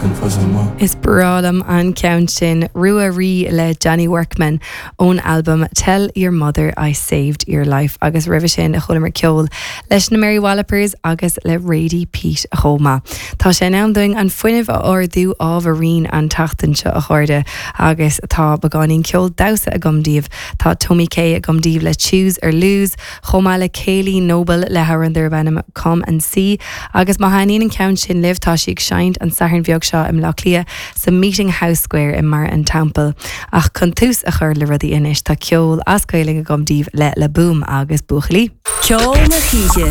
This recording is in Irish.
Is breá liom an ceann sin, Rua Rí le Johnny Workman ón albam Tell Your Mother I Saved Your Life agus roimhe sin chualamar ceol leis na Mary Wallopers agus le Radie Peat chomh maith. Tá sé in am dúinn an fuinneamh a ardú ábhairín an tseachtain seo a chairde agus tá beagáinín ceol damhsa agam daoibh. Tá Tomi Kay agam daoibh le Choose or Lose chomh maith le Kayleigh Noble le hamhrán darb ainm Come and See agus má thaitníonn an ceann sin libh tá sí ag seinnt an Satharn bheag seo i mBleá Cliath sa Meeting House Square i mBarra an Teampaill. Ach chun tús a chur le rudaí anois tá ceol as Gaelainn agam daoibh le La Boum agus Buachaillí. Ceol na hoíche.